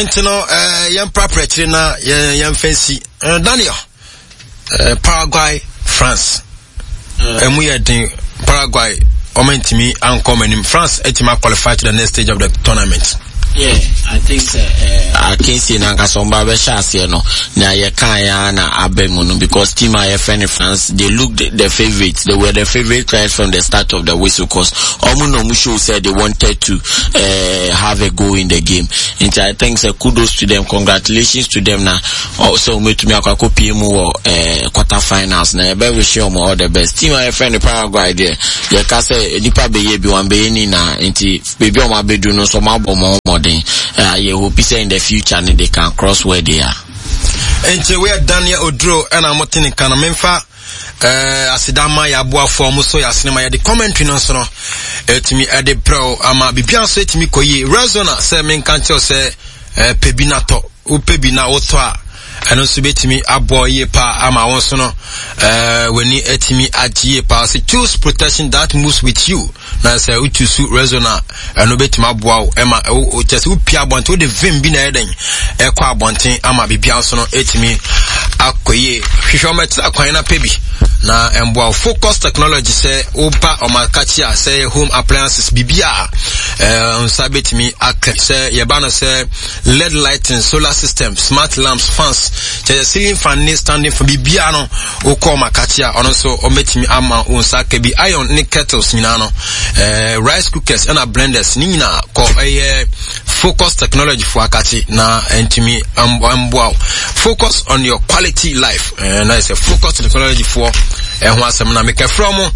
Nti no eh, yɛn prapra akyire na yɛn yɛn fɛn si eh, Daniel eh, Paraguay France ɛmu yɛ den Paraguay wɔn ntumi ankɔ wɔn anim France atumi qualify to the next stage of the tournament. Yeah, I think sɛ eh, akansie no ankasa wɔn ba bɛhyɛ aseɛ no nea yɛkaeɛ ara na aba mu no because team a yɛfrɛ no France they looked the favourites they were the favourite right from the start of the whistle cause wɔn na wɔn show sɛ they wanted to uh, have a go in the game nti I think sɛ kudos to them congratulations to them na sɛ wɔn atumi akɔ akɔpie mu wɔ eh, quarter finals na yɛbɛ wish wɔn all the best team a yɛfrɛ no Paraguay deɛ yɛka sɛ nipa bɛyɛ bi wɔn bɛyɛ ni na nti baabi a wɔn abɛdu no nso wɔn abɔ wɔn ho mmɔden eh, yɛ hope sɛ in the future no they can cross where they are. Nti woyɛ Daniel Oduro ɛna mo te ne nka no memfa eh, aseda ma yɛ aboafoɔ a wɔn so yɛ asene ma yɛde commentary no nso no ɛtumi ɛde brɛw ama biribiara nso ɛtumi kɔ yie Rezona sɛ menka nkyerɛw sɛ eh, pɛ bi na tɔ wopɛ bi na wotɔ a ɛno nso bɛtumi aboa yie paa ama wo nso no eh, w'ani atumi agye yie paa sɛ choose protection that moves with you na sɛ wotu su resona ɛno bɛtumi aboa wo ɛma kyɛ sɛ wopia abɔnten wode vim bi na ɛyɛ dɛn ɛkɔ abɔnten ama biribia nso no ɛtumi akɔ yie hwehwɛ ɔmɛtena kwan no apɛ bi na ɛmboa wo focus technology sɛ woba ɔmakakye a sɛ home appliances biribi a nsa bɛtumi aka sɛ yɛba no sɛ led lighting solar system smart lamps fans kyɛ sɛ ceiling fan ne standing fan biribiara no wokɔ ɔmakakye a ɔno nso ɔmɛtumi ama wo nsa aka bi iron ne kettles nyinaa no eh, rice cookers ɛna blenders ne nyinaa kɔ ɛyɛ focus technology fo akakye na ɛntumi mboa wo focus on your quality life eh, na ɛsɛ focus technology foɔ ɛho asɛm na mekɛfrɛ mo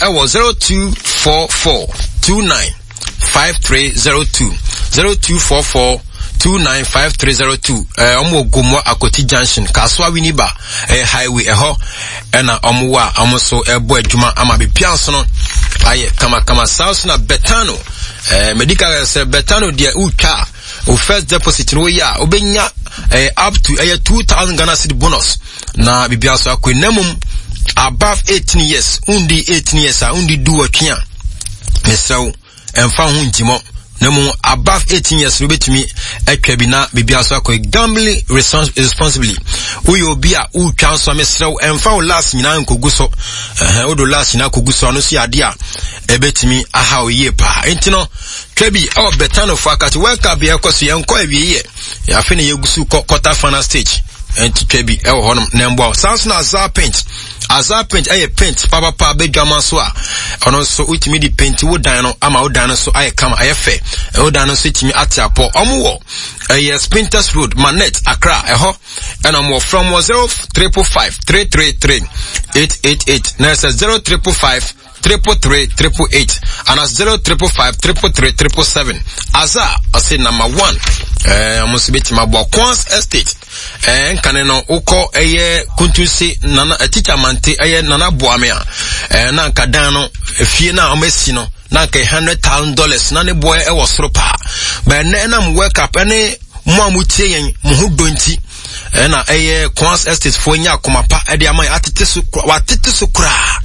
ɛwɔ 0244 29 5302 0244 295302 ɛɛ wɔn wɔ Gomoa Akoti Junction Kasoa Winneba ɛyɛ highway ɛhɔ ɛna wɔn wɔ a wɔn nso ɛbɔ adwuma ama bepia nso no ayɛ kamakama saa nso na Betano ɛɛ medical sɛ Betano deɛ wotwa o first deposit no woyɛ a wobɛnya ɛɛ up to ɛyɛ 2000 Ghana cedi bonus na biribiara nso akɔ na mmom above 18 years wondi 18 years a wondi du wɔtwe a mesrɛ wo ɛmfa ho nkyimɔ na mmom above 18 years no wobɛtumi atwa bi na biribiara nso akɔ gambling responsibly woyɛ obi a wotwa nso a mesrɛ wo ɛmfa wo last nyinaa nkɔgu so ɛhɛn wode last nyinaa kɔgu so ano so yɛ adeɛ a ɛbɛtumi aha wo yie paa nti no twa bi ɛwɔ bɛtanofo akate world cup yɛkɔ so yɛnkɔ awie yɛ afei na yɛgu so kɔ quarter final stage nti twa bi ɛwɔ hɔnom na mboa wo saa nso na azar paint azar paint ɛyɛ paint papapa bɛdwama so a ɔno nso wotumi de paint wo dan no ama wo dan no so ayɛ kama ayɛ fɛ wo dan no nso tumi ate apɔ ɔmo wɔ ɛyɛ spinters road manet accra ɛhɔ ɛna ɔmo wɔ from wɔ 0 555 333 888 na ɛsɛ 0 555 333 888 ana 0555 333 777 aza ɔse number one ɛɛ ɔmo nso bɛtumi aboa Kwans Estate ɛɛ nkane no wokɔ ɛyɛ kuntunse nana tikya mante ɛyɛ nana boame a ɛɛ na nka dan no efie no a ɔmo asi no na nka $100,000 na ne boɛ ɛwɔ soro paa bɛn nɛ ɛnam work up ɛne mo a mo tie yɛn mo ho dɔ nti ɛna ɛyɛ Kwans Estate foɔ nya akoma pa ɛde ama yɛn atete so watete so koraa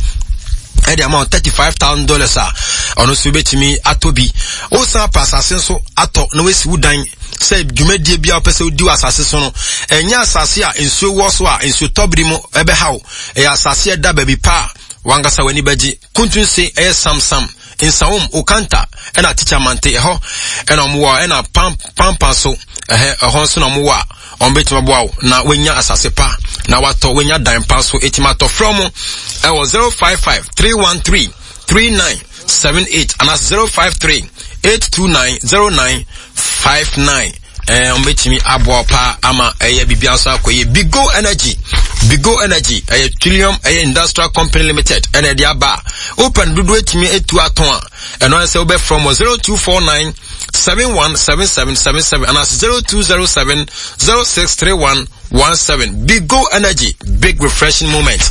ɛde ama $35,000 a ɔno nso bɛtumi atɔ bi wosan pa asase nso atɔ na wasi wo dan sɛ dwumadie bi a wopɛ sɛ wodi wɔ asase so no ɛnyɛ asase a nsuo wɔ so a nsuo tɔbiri mu ɛbɛhaw ɛyɛ asase a ɛda baabi pa a wankasa w'ani bɛgye kuntunse ɛyɛ samsam nsawom okanta ɛna tikya mante ɛhɔ ɛna wɔn wɔ ɛna pam pampa so ɛhɛ ɛhɔ nso na wɔn wɔ a wɔn bɛtumi aboa wo na wɔanya asase pa na watɔ wɔanya dan pa so ɛtumi atɔ frɛ wɔn ɛwɔ 055 313 3978 anaa 053 829 0959 ɛɛ wɔn bɛtumi aboa paa ama ɛyɛ biribi nso akɔ yɛ bigo energy bigo energy ɛyɛ trillium ɛyɛ industrial company limited ɛna ɛde aba open dodoɔ etumi etu atɔn a ɛno ayɛ sɛ wobɛfrɛ mo 0249 717777 anaasɛ 0207 0631 17 bigo energy big refreshing moment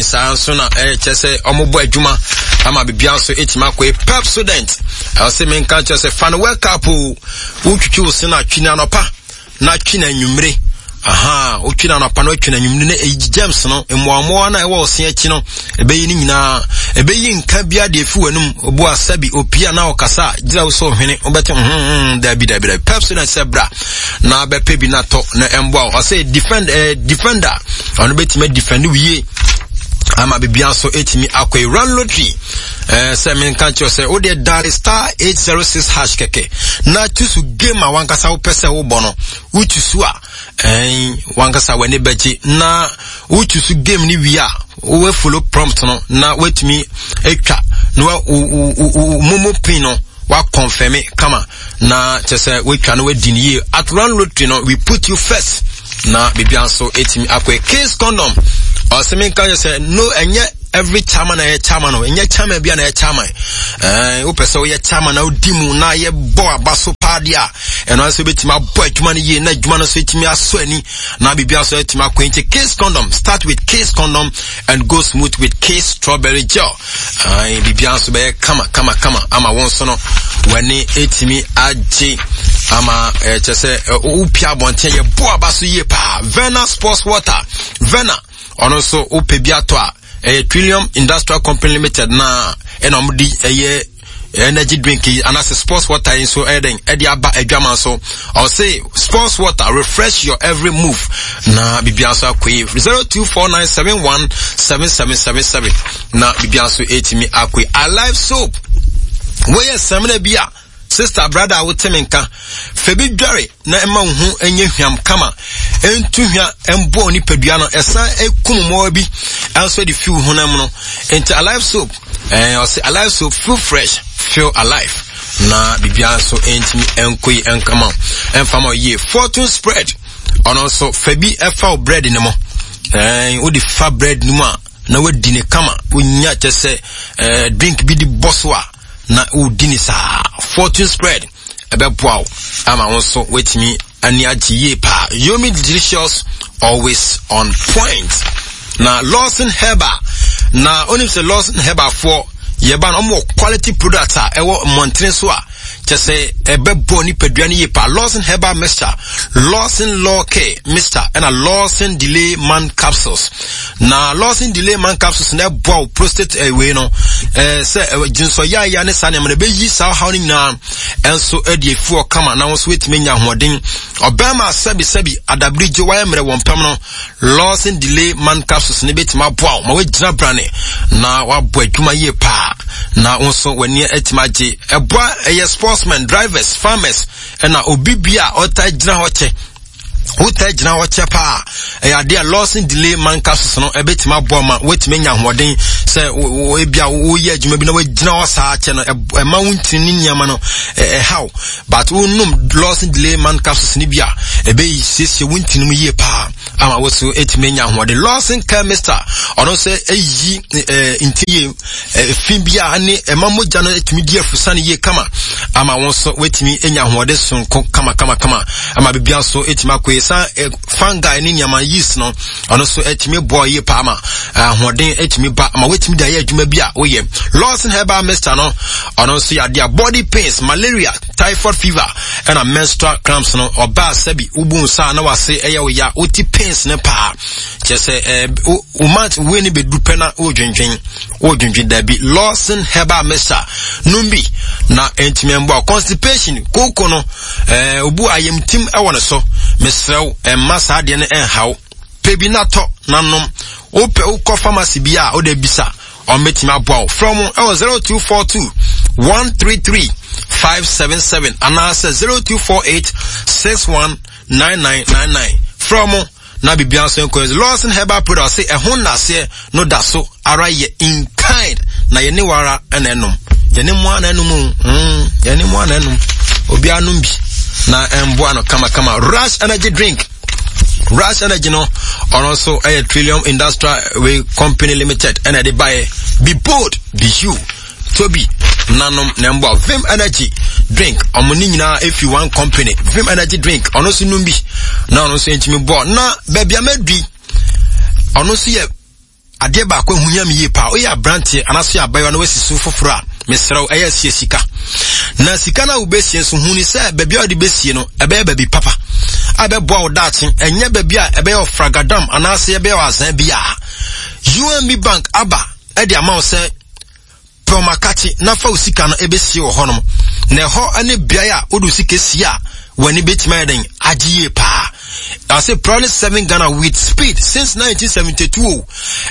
saa nso na ɛkyɛ sɛ ɔmobɔ adwuma ama biribiara nso ɛtumi akɔ yi pepsodent ɛwɔ sɛ menka kyerɛ sɛ fa no work up o wotwitwi wo se no atwi no anɔpa na twi no anwummere. Aha, wotwi no anɔpa na watwi no anwummere na eyi germs no, mmoammoa no a ɛwɔ ɔse akyi no, ɛbɛyi ne nyinaa. Ɛbɛyi nka biara deɛ efi w'anum, obu asabi, opia na ɔkasa a, gyina wo sɛ ɔhwene, wobɛte hmm, dabi dabi dabi. Pepsodent sɛ bra na bɛpɛ bi na tɔ na ɛmboa wo. Ɔsɛ defend, eh, defender, ɔno bɛtumi defend wo yie ama biribiara nso ɛtumi akɔ yi. Run lottery, eh, sɛ menka kyerɛ sɛ wodeɛ dial star 806 hash kɛkɛ na choose game a wankasa wopɛ sɛ wobɔ no wotu so a ɛn wankasa w'ani bɛgye na wotu so game no wie a wowɛ follow prompt no na woatumi atwa na wa wo wo momo pin no wakɔnfɛme kama na kyɛ sɛ woatwa no woadi no yie. At Run Lottery no, we put you first na biribia nso ɛtumi akɔ. Case condom, ɔsɛ menka kyɛ sɛ no ɛnyɛ every chairman na ɛyɛ chairman no, ɛnyɛ chairman bia na ɛyɛ chairman. Ɛn wopɛ sɛ woyɛ chairman na wodi mu na yɛbɔ aba so paa deɛ a, ɛno nso bɛtumi abɔ adwuma no yie na adwuma no nso ɛtumi asɔ ani na biribia nso ɛtumi akɔ. Nti case condom, start with case condom and go smooth with case strawberry gel. Ae, biribia nso bɛyɛ kama kama kama ama wo nso no w'ani ɛtumi agye ama ɛkyɛ sɛ wopia abɔnten yɛbɔ aba so yie paa. Vena sports water, Vena ɔno nso wopɛ bi atɔ a, ɛyɛ Trillium Industrial Company Limited na ɛna wɔn de ɛyɛ energy drink yi anaasɛ sports water yi nso ɛyɛ dɛn ɛde aba adwama so. Ɔse sports water, refresh your every move na biribiara nso akɔ yi. 0249717777 na biribiara nso ɛtumi akɔ yi. Alive soap, wɔyɛ samina bi a sister brother a wote me nka fɛ bi dware na ɛma wo ho nyɛ hwam kama, ɛntu hwa ɛmbɔ nipadua no, ɛsan ɛkum mmoawa bi ɛnso de fi wo honam no. Nti Alive soap, ɛɛ ɔse Alive soap, feel fresh, feel alive na biribiara nso ɛntumi ɛnkɔ yi ɛnkama ɛmfama yie. Fortune spread, ɔno nso fɛ bi ɛfa wo bread no mu, ɛɛ wode fa bread no mu a na wadi ne kama, wonya kyɛ sɛ ɛɛ drink bi de bɔ so a na wodi ne saa. Fortune spread ɛbɛboa wo ama wo nso woatumi ani agye yie paa. Yomi delicious, always on point. Na Lawson Herbal, na onim sɛ Lawson Herbal foɔ yɛba no, ɔmo wɔ quality product a ɛwɔ mmɔntene so a kyɛ sɛ ɛbɛbɔ nipadua no yie paa. Lawson Herbal mixture, Lawson Law Care mixture, ɛna Lawson Delay Man capsules. Na Lawson Delay Man capsules na ɛboa wo prostate ɛwei no, ɛɛ sɛ gyensɔ yaaya ne saa nneɛma no, ɛbɛyi saa ɔhaw no nyinaa ɛnso ɛde efi hɔ kama na wɔn nso wɔatumi anya ahoɔden. Ɔbɛrima sɛbi sɛbi adabiri gye wayɛ mmerɛ wɔn pɛm no, Lawson Delay Man capsules ne bɛtumi aboa wo ma woagyina brane na wabɔ adwuma yie paa na wo nso w'ani atumi agye. Ɛboa ɛyɛ sportsmen, drivers, farmers, ɛna obi bi a ɔtaa gyina hɔ kyɛ. Wotaa gyina hɔ kyɛ paa, ɛyɛ adeɛ a Lawson Delay Man capsules no ɛbɛtumi aboa ma woatumi anya ahoɔden sɛ ebi a woyɛ adwuma bi na woagyina hɔ saa kyɛ no, ɛma wo ntini ne nneɛma no ɛhaw, but wonom Lawson Delay Man capsules no bi a, ɛbɛyi siesie wo ntini mu yie paa ama wo so ɛtumi anya ahoɔden. Lawson Chemista, ɔno nso ɛyi nti yie fi bi a ne ɛma mogya no ɛtumi di afusane yie kama ama wo nso woatumi anya ahoɔden sonko kama kama kama ama biribiara nso ɛtumi akɔ yie. San fungi ne nneɛma yeast no, ɔno nso ɛtumi boa yie paa ma ahoɔden ɛtumi ba ama woatumi de ayɛ adwuma bi a woyɛ. Lawson Herbal Mixture no, ɔno nso yɛ adeɛ a body pains, malaria, typhoid fever, ɛna menstrual cramps no, ɔbaa sɛbi wobu nsa na wase ɛyɛ wo ya, wote pains no paa kyerɛ sɛ ɛɛ wo month wei ne bɛdu pɛ na wodwendwen wodwendwen dabi. Lawson Herbal Mixture nom bi na ɛntumi mboa constipation, kooko no, ɛɛ obu ayamtim ɛwɔ ne so. Mesrɛ wo, ɛmma saa adeɛ no ɛnhaw. Pɛ bi na tɔ na nom. Wopɛ wokɔ pharmacy bi a wode bisa, ɔmbɛtumi aboa wo. Frɛ mo ɛwɔ 0242 133 577 anaasɛ 0248 619999. Frɛ mo na biribiara nso nkɔ. Lawson Herbal product sɛ ɛho nnaseɛ no da so ara yɛ in kind na yɛne wara ɛna ɛnom, yɛne mu ana ɛnom o, yɛne mu ana ɛnom. Obiara nom bi na ɛmboa no kamakama. Rush energy drink, Rush Energy no, ɔno nso ɛyɛ Trillium Industrial Way Company Limited ɛna ɛde baeɛ. Be bold, be you. Tobi nanom na mboa. Vim Energy drink, ɔmo ne nyinaa efi one company. Vim Energy drink, ɔno nso num bi na ɔno nso ntumi bɔ na baabi a mɛdui. Ɔno nso yɛ adeɛ baako ehu hia mi yie paa. Oyɛ aberanteɛ anaasɛ abayewa na wasi so foforɔ a, mesrɛ wo, ɛyɛ asie sika. Na sika no a wobɛsie nso, hu ne sɛ baabi a wode bɛsie no ɛbɛyɛ baabi papa. a ɛbɛboa wo daakye, ɛnyɛ baabi a ɛbɛyɛ ɔfragadam anaasɛ ɛbɛyɛ ɔazan bi a. UMB Bank aba ɛde ama wo sɛ pɛ ɔmakakye na fa wo sika no ɛbɛsie wɔ hɔnom. Na ɛhɔ ne beae a wode wo sika sie a w'ani bɛtumi ayɛ dɛn agye yie paa. Ase proudly serving Ghana with speed since 1972 o.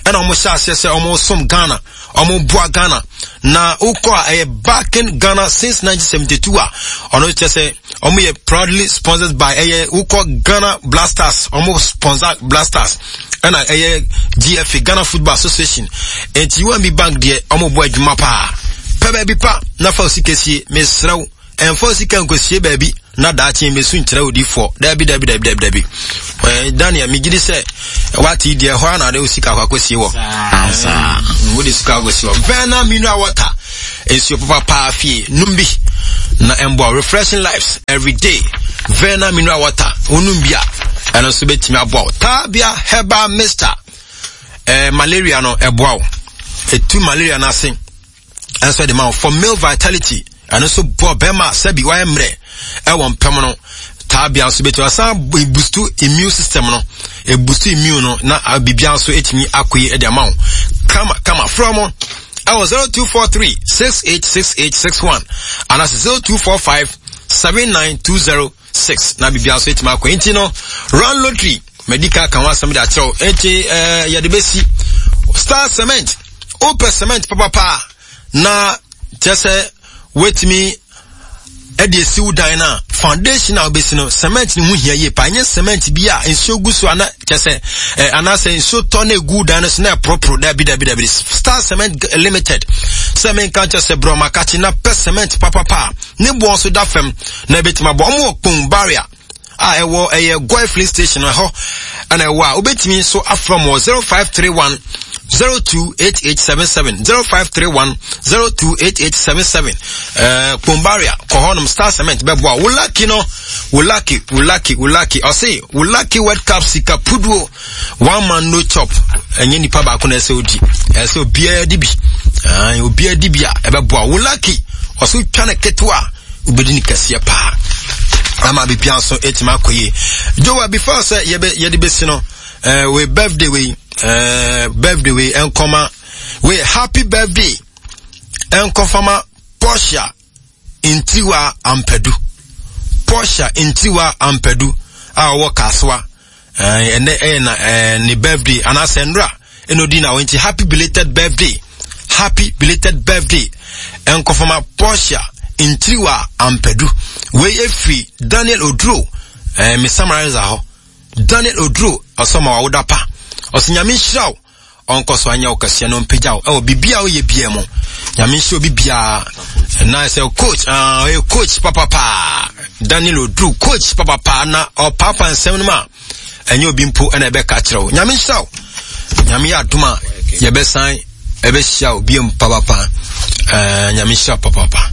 Ɛna wɔn hyɛ aseɛ sɛ wɔn som Ghana, wɔn boa Ghana. Na wokɔ a ɛyɛ backing Ghana since 1972 a ɔno kyerɛ sɛ wɔn yɛ proudly sponsored by ɛyɛ wokɔ Ghana Blasters, wɔn sponsor Blasters. Ɛna ɛyɛ GFA Ghana Football Association. Enti UMB Bank deɛ wɔn bɔ adwuma paa. Pɛ baabi pa na fa osika sie, mesrɛ wo. Ɛmfa wo sika nkosie baabi na daakye mmesu nkyerɛ odifoɔ. Dabi, dabi, dabi, dabi, dabi. Eh, Daniel, megye di sɛ wate yi deɛ ɛhɔ ara na ade wo sika akɔ akɔsie wɔ. Saa. Mm, wode sika akɔsie wɔ. Verna mineral water, nsuo papa paa fie, nom bi na ɛmboa refreshing lives every day. Verna mineral water, wonom bi a, ɛno nso bɛtumi aboa wo. Tabia herbal mixture, eh, malaria no ɛboa wo. Ɛtu malaria no ase. Ɛnso de ma wo for male vitality ɛno nso boa bɛrima sɛbi wayɛ mmerɛ ɛwɔ mpɛm no taabea nso bɛtumi asan boost immune system no ebustu immune no na biribiara nso etumi akɔ yi de ama wo kama kama frɛ mo ɛwɔ 0243 686861 anaasɛ 0245 79206 na biribiara nso etumi akɔ nti no run lottery madi ka ka ho asɛm de akyerɛw nti ɛɛ yɛde bɛsi star cement wopɛ cement papapa na kyerɛ sɛ woatumi ɛde esi wo dan no a foundation a wobɛsi no cement no ho hia yie paa ɛnyɛ cement bi a nsuo gu so ana kyerɛ sɛ ɛ anaasɛ nsuo tɔ na egu dan no so na ɛporoporo dabi dabi dabi star cement limited sɛ menka kyerɛ sɛ brɔma kakye na pɛ cement papapa ne boɔ nso da fam na ebɛtumi abɔ ɔmo wɔ kpon barrier a ɛwɔ ɛyɛ Goy filling station ɛhɔ ɛna ɛwɔ a wobɛtumi nso afrɛ mo 0531 028877 0531 028877 ɛɛ Kpombaria kɔ hɔnom Star Cement bɛboa wo lucky no wo lucky wo lucky wo lucky ɔse wo lucky World Cup sika puduo one man no chop ɛnyɛ nipa baako na ɛsɛ odi ɛsɛ obiara di bi ɛɛ obiara di bi a ɛbɛboa wo lucky ɔso twa ne ketewa wobɛdi no kɛseɛ paa ama biribiara nso ɛtumi akɔ yie jowa before sɛ yɛde bɛsi no eh, wei birthday wei eh, birthday wei ɛnkɔma wei happy birthday ɛnkɔfama Portia Ntiwa Ampadu Portia Ntiwa Ampadu a ɔwɔ Kasoa ɛnɛ ɛyɛ na ne birthday anaasɛ nnora ɛna odi na nti happy belated birthday happy belated birthday nkɔfama Portia Ntiriwa Ampadu wei efiri Daniel Oduro ɛɛ me summarizer hɔ Daniel Oduro ɔsɔma wawoda pa ɔsɛ nyame nhyira wo ɔnkɔ so anyɛ wo kɛseɛ na ɔmpagya wo ɛwɔ biribi a woyɛ biara mu nyame nhyɛ obi biara na sɛ coach ah, ɔyɛ coach papapa Daniel Oduru coach papapa na ɔpaapa nsɛm no mu a ɛnyɛ obi mpo ɛna ɛbɛka kyerɛ wo nyame nhyira wo nyame yɛ adom a yɛbɛsan ɛbɛhyia wo biom papapa eh, nyame nhyira papapa.